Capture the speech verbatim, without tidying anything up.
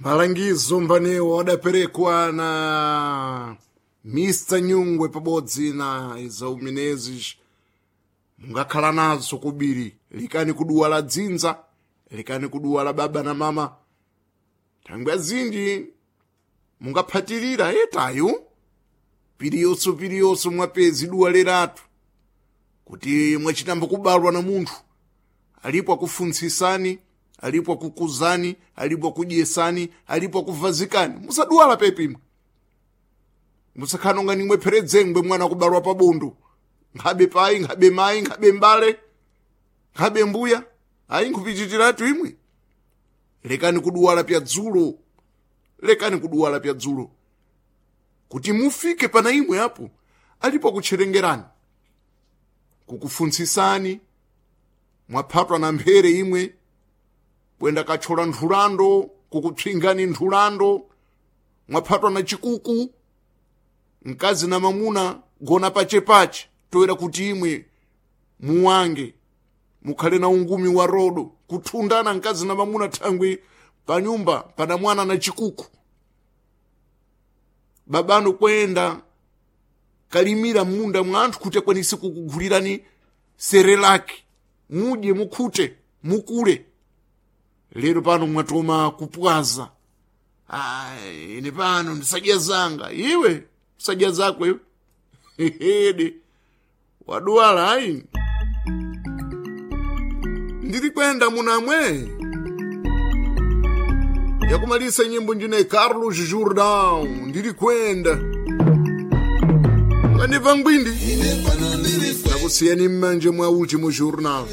Malangizo mbanewo adaperekwa na Mister Nyungwe pabodzi na Isau Menezes. Mungakhala nazo kubiri, likani kuduwa la dzinza, likani kuduwa la baba na mama. Thangwi azinji mungaphatirira etayo piriyonso piriyonso mwapezi duwa leratu kuti mwachitamba kubalwa na munthu alipo akufuntsisani, alipo akukuzani, alipo akudyesani, alipo akuvazikani. Musaduwala pepimwe, musakhala nonga nimwe pheredzengwe mwana akubalwa pabondo, nkhabe payi, nkhabe mayi, nkhabe mbale, nkhabe mbuya, ayi nkhupichitiratu imwe. Lekani kuduwala pya dzulo, lekani kuduwala pya dzulo kuti mufike pana imwe apo alipo akutcherengerani, kukufuntsisani. Mwaphatwa na mphere imwe bwenda kathyola nthulando, kukupsingani nthulando. Mwaphatwa na chikuku, mkazi na mamuna gona pachepache toera kuti imwe muwange mukhale na ungumi wa rodo, kuthundana mkazi na mamuna thangwi panyumba pana mwana na chikuku. Babano kwenda kalimira munda mwa anthu kuti akwanise kukugulirani sere lake, mudye, mukhute, mukule. Lero pano mwatoma kupwaza, "Ai, ine pano ndisadya zanga." Iwe sadya zako iwe, hede waduwala. Ayi, ndiri kwenda munamwe yakumalisa nyimbo njine Carlos Jordão, ndiri kwenda nganiva ngwindi nakusiyani mmanje mwa último jornal.